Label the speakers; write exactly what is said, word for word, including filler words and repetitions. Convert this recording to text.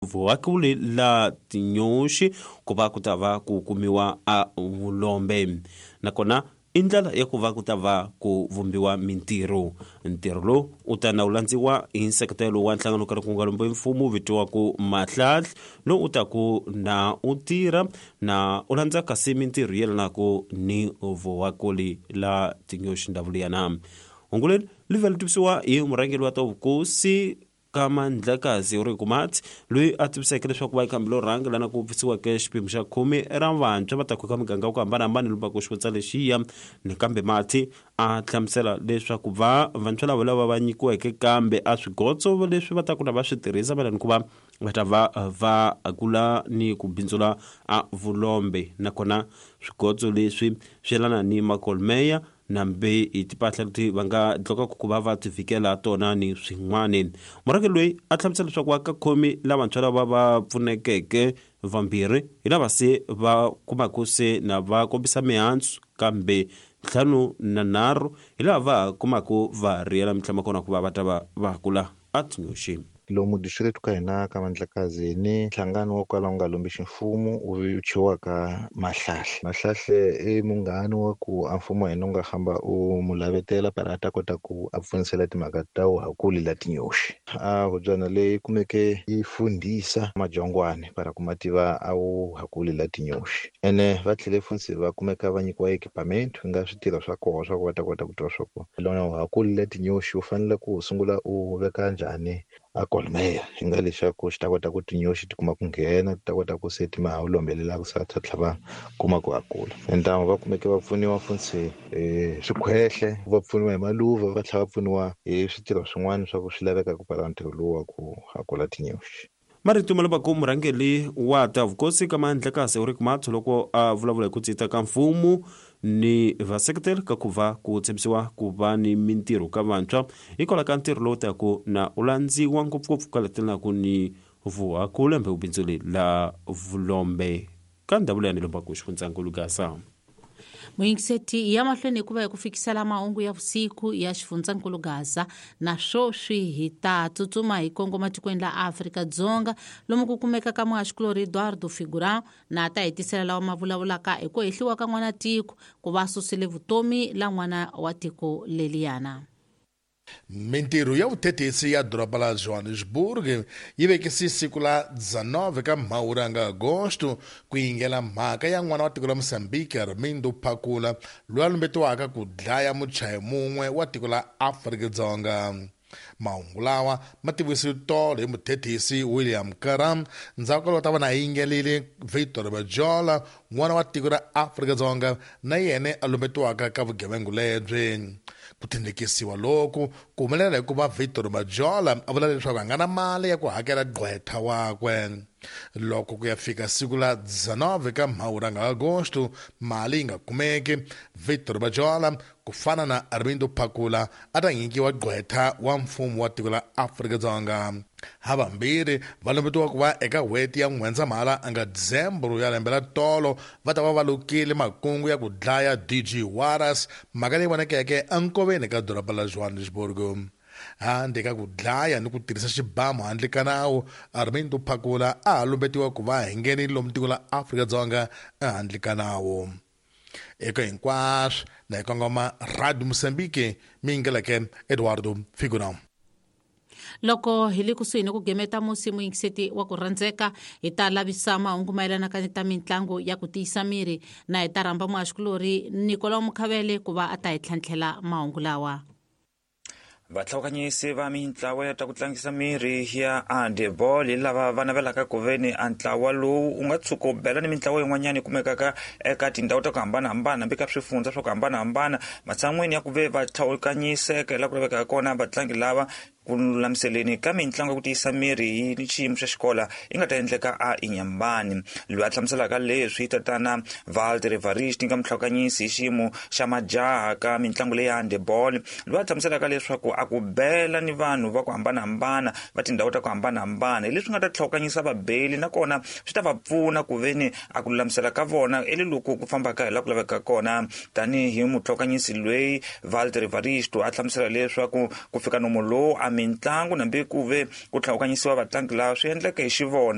Speaker 1: Vuhakuli la tinyoxi ku va ku ta va ku kumiwa a vulombe, nakona i ndlela ya ku va ku ta va ku vumbiwa mintirho. Ntirho lowu u ta na wu landziwa hi nseketelo wa nhlangano karhi ku nga lombi mfumo vitiwaku Mahlahla, lowu u ta ku na u tirha na u landza kasi mintirho yelanaku ni vuhakuli la tinyoxi ndhavulo ya na. Hungu leri li vhela tivisiwa hi murhangeri wa ta vukosi ka Mandlakazi Ulrich Mathe, loyi a tiviseke leswaku va ikhambi lo rhanga lana ku pfisiweke xipimo xa khume ra vantshwa va ta ku ka miganga ya ku hambanahambana lomu xivundza lexiya. Nakambe Mathe a hlamusela leswaku va vantshwa lava lava va nyikiweke kambe a swigotso leswi va ta ku na va swi tirhisa mayelana ku va va ta va va kula ni ku bindzula a vulombe, nakona swigotso leswi swi yelana ni makolmeya nambe hi timpahla leti va nga dlokaka ku va va ti vhikela tona ni swin'wana. Murhangeri loyi a hlamusela leswaku va ka khomi lavantshwa lava va pfunekeke vambirhi hi lava se va kumaka se na va kombisa mihandzu, kambe ntlhanu na nharhu hi lava va kumaka va riyela mintlhanu kona ku va va ta va va kula a tinyoxi.
Speaker 2: Lomu district ka hina ka Mandlakazi ni nhlangano wo kala wu nga lombi ximfumo wu thyiwaka Mahlahle. Mahlahle i munghana wa ku a mfumo wa hina wu nga hamba u mu lavetela para a ta kota ku a pfunisela timhaka ta vuhakuli la tinyoxi. A hubyana leyi kumeke yi fundhisa majongwane para ku ma tiva a vuhakuli la tinyoxi. Ene va tlhele funtsi va kumeka va nyikiwa equipment ku nga switirho swa koho swa ku va ta kota ku tiva swa ku lona vuhakuli la tinyoxi u fanele ku sungula u veka njhani a kolmeya hi nga leswaku xi ta kota ku tinyoxi ti kuma ku nghena, ti ta kota ku se ti ma ha lombelela ku sa tlhela va kuma ku hakula. Entamu va kumeke va pfuniwa funtsi hi swikhwehle, va pfuniwa hi maluva, va tlhela va pfuniwa hi switirho swin'wana swa ku swi laveka ku pfala ntirho lowu wa ku hakula tinyoxi.
Speaker 1: Marito ma lavaku murhangeri wa ta vukosi ka Mandlakazi Ulrich Mathe loko a vulavula hi ku cinca ka mfumo ni vaseketeri ka ku va ku tshembisiwa ku va ni mintirho ka vantshwa hikwalaho ka ntirho lowu taku na u landziwa ngopfungopfu ka letelanaku ni vuhakula mbe vubindzuli la vulombe ka ndhavulo ya ni lombaku xifundzankulu Gaza.
Speaker 3: Muyingiseti ya mahlweni hikuva hi ku fikisela mahungu ya vusiku ya xifundzankulu Gaza, na sweswi hi ta tsutsuma hi kongoma tikweni la Afrika-Dzonga lomu ku kumeka ka muhaxikulorhi Eduardo Figurão na ta hetisela lawa ma vulavulaka hi ku hehliwa ka n'wana tiko ku va susile vutomi la n'wana wa tiko leliyana.
Speaker 4: Mintirho ya vuthethisi ya doroba la Johannesburg yi vekise siku la dezenove ka Mhawuri nga Agosto ku yingela mhaka ya n'wana wa tiko la Mozambique Armindo Phakula loyi a lumbetiwaka ku dlaya muchayi mun'we wa tiko la Afrika-Dzonga. Mahungu lawa ma tivisiwe tolo hi muthethisi William Karam ndzhaku ka loko ta va na yingelile Victor Bajola n'wana wa tiko ra Afrika-Dzonga na yena a lumbetiwaka ka vugevenga lebyi. Ku tindlekisiwa loku ku humelela hikuva Victor Bajola a vula leswaku a nga na mali ya ku hakela gqwetha wakwe. Loko ku ya fika siku la dezenove ka Mhawuri nga Agosto mali yi nga kumeki, Victor Bajola ku fana na Armindo Phakula a ta nyikiwa gqwetha wa mfumo wa tiko la Afrika-Dzonga. Havambirhi va lumbetiwa ku va eka n'hweti ya N'wendzamhala a nga Dizembro ya lembe ra tolo va ta va va lukile makungu ya ku dlaya D G Juarez, mhaka leyi vonakeke enkoveni ka doroba la Johannesburg. Handle ka ku dlaya ni ku tirhisa xibamu handle ka nawu, Armindo Phakula a ha lumbetiwa ku va hi nghenile lomu tiko la Afrika-Dzonga ehandle ka nawu. Eka hinkwaswo na hi kongoma Radio Mozambique mi yingeleke Eduardo Figurão.
Speaker 3: Loko hi le kusuhi ni ku gemeta musi muyingiseti wa ku rhandzeka, hi ta lavisa mahungu mayelana ka ta mitlangu ya ku tiyisa miri na hi ta rhamba muhaxikulorhi Nicolau Mukhavele ku va a ta hi tlhantlhela mahungu lawa.
Speaker 5: Vatlhawukanyisi va mintlawa ya ta ku tlangisa miri ya handball hi lava va navelaka ku ve ni a ntlawa lowu u nga tshuka u bela ni mintlawa yin'wanyana yi kumekaka eka tindhawu ta ku hambanahambana hambi ka swifundza swa ku hambanahambana, matshan'wini ya ku ve va tlhawukanyiseka hi laha ku lavekaka kona vatlangi lava ku lulamiseleni ka mitlangu ya ku tiyisa miri hi xiyimo xa xikola yi nga ta endleka a Inyambani. Loyi a hlamuselaka leswi tatana Walter Evarist nga mutlhawukanyisi hi xiyimo xa majaha ka mitlangu leyi ya handball, loyi a hlamuselaka leswaku a ku bela ni vanhu va ku hambanahambana va tindhawu ta ku hambanahambana hi leswi nga ta tlhawukanyisa vabeli nakona swi ta va pfuna ku ve ni a ku lulamisela ka vona i le loko ku fambaka hi laha ku lavekaka kona. Tanihi mutlhawukanyisi loyi Walter Evaristo a hlamusela leswaku ku fika nomo lowu a a mitlangu nambi ku ve ku tlhawukanyisiwa vatlangi lava swi endleke hi xivona.